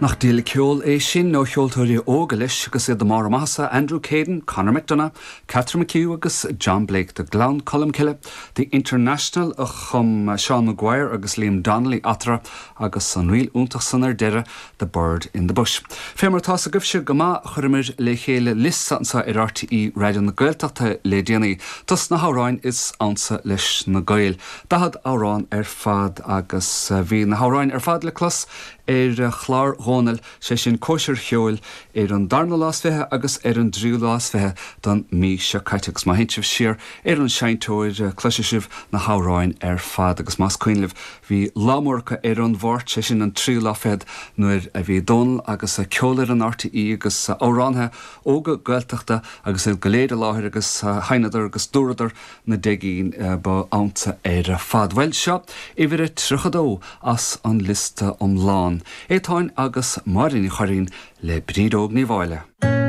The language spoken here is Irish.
Nach diabhal ceol é sin ó cheoltóirí óga leis agus iad i mbarr a maitheasa, Andrew Caden, Conor McDonagh, Catherine McHugh agus John Blake do Gleann Cholm Cille, The International a chum Seán Maguire agus Liam Donnelly eatarthu agus an ríl iontach san ar deireadh, The Bird in the Bush. Fé mar atá's agaibhse go maith chuireamar le chéile liosta anseo ar RTÉ Raidió na Gaeltachta le déanaí dos na hamhráin is ansa leis na Gaeil. 40 amhrán ar fad agus bhí na hamhráin ar fad le clos ar chlár Dhónaill, sé sin Cóisir Cheoil, ar an darna lá is 20 agus ar an dtríú lá is 20 den mí seo caite. Agus má théann sibh siar ar an seinnteoir cloisfidh sibh na hamhráin ar fad. Agus más cuimhin libh bhí lá mór acu ar an Mháirt, sé sin an tríú lá fichead, nuair a bhí Dónal agus Ceolfhoireann RTÉ agus amhránaithe óga Gaeltachta agus iad go léir i láthair agus sheinneadar agus dúradar na deich gcinn ba ansa ar fad. Bhuel, seo uimhir a 32 as an liosta iomlán. Étáin agus Máire Ní Churraoin le Bríd Óg Ní Mháille.